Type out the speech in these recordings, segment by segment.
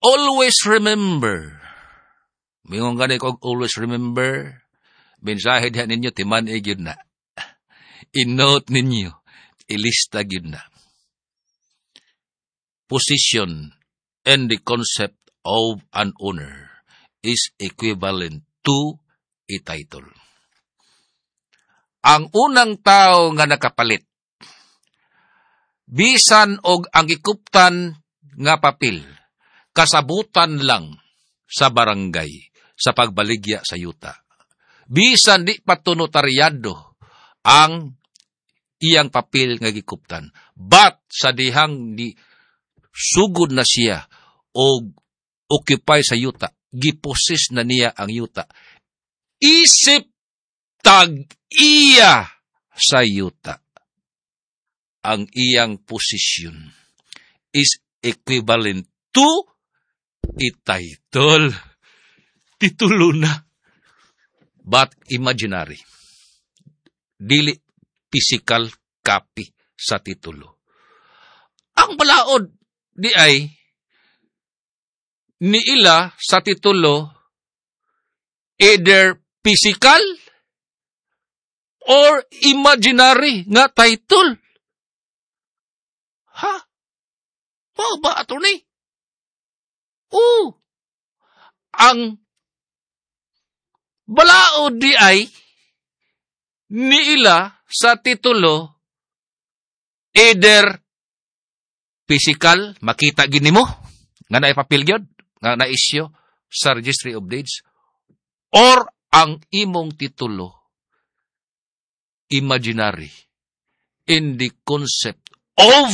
Always remember. Mingon gani ko, always remember. Mensahe diha ninyo, timan-i gyud na. I-note ninyo, ilista gyud na. Position and the concept of an owner is equivalent to a title. Ang unang tao nga nakapalit, bisan og ang gikuptan nga papel, kasabutan lang sa barangay sa pagbaligya sa yuta. Bisan di pa to notaryado ang iyang papel nga gikuptan. But sa dihang ni sugod na siya og occupy sa yuta, gipossess na niya ang yuta. Isip tag-iya sa yuta. Ang iyang posisyon is equivalent to a title. Titulo na. But imaginary. Dili physical copy sa titulo. Ang balaod di ay niila sa titulo either physical or imaginary nga title. Ha? Mao ba, attorney? Oo. Ang balaod di ay niila sa titulo either physical, makita gini mo, nga naay papel gyud, nga na-issue sa Registry of Deeds, or ang imong titulo imaginary in the concept of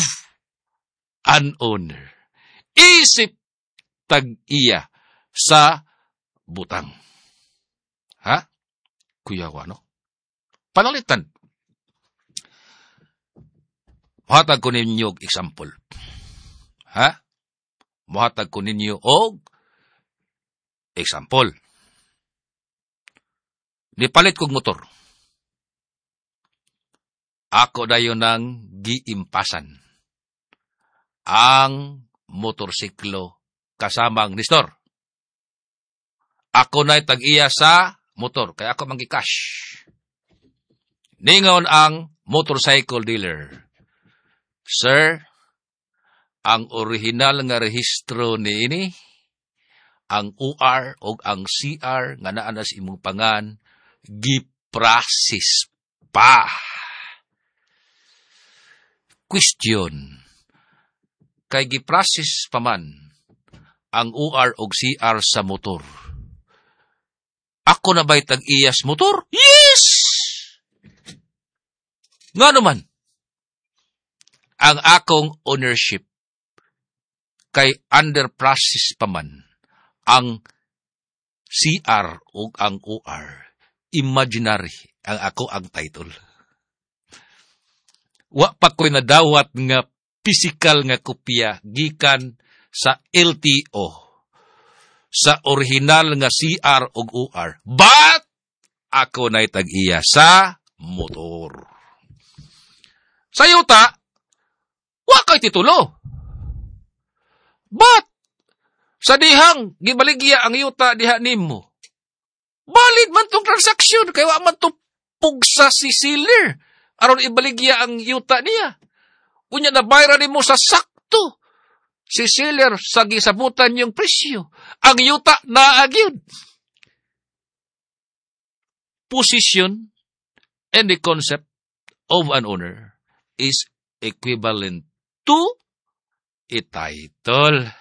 an owner. Isip tag-iya sa butang. Ha? Kuya no? Panalitan. Muhatag ko ninyo og example. Ha? Muhatag ko ninyo og example. Nipalit kog motor. Ako dayon nang giimpasan ang motorsiklo kasamang nistor. Ako na'y tag-iya sa motor, kaya ako manggi-cash. Ningon ang motorcycle dealer, "Sir, ang original nga rehistro niini, ang OR o ang CR nga naa na sa imong pangan, giprocess pa." Question, kay giprocess pa man ang OR og CR sa motor, ako na ba'y tag-iyas motor? Yes! Nga naman, ang akong ownership kay under process pa man ang CR o ang OR, imaginary ang ako ang title. Wa pa ko'y nadawat nga physical nga kopya gikan sa LTO sa original nga CR ug OR. But ako na'y tag-iya sa motor. Sa yuta, wa kay titulo. But sa dihang gibaligya ang yuta diha nimo, valid man tong transaksyon kay wa man to pugsa si seller aron ibaligya ang yuta niya. Unya nabayran nimo sa sakto si seller sa gisabutan yung presyo. Ang yuta naa gyud. Position and the concept of an owner is equivalent to a title.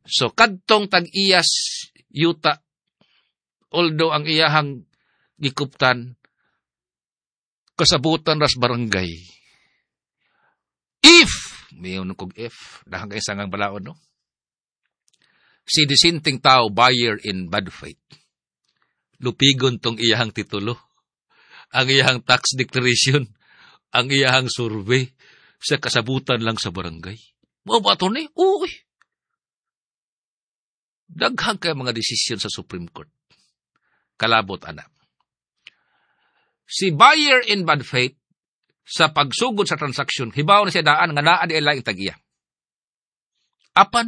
So kadtong tag-iyas yuta, although ang iyahang gikuptan kasabutan ras barangay. If, mayon kog if, dahang kay sangang balaod, no? Si disenteng tao, buyer in bad faith, lupigon tong iyahang titulo, ang iyahang tax declaration, ang iyahang survey, sa kasabutan lang sa barangay. Mao ba to ni? Uy! Daghang kay mga desisyon sa Supreme Court. Kalabot ana. Si buyer in bad faith, sa pagsugod sa transaksyon, hibaw na siya daan nga naa di laing tag-iya. Apan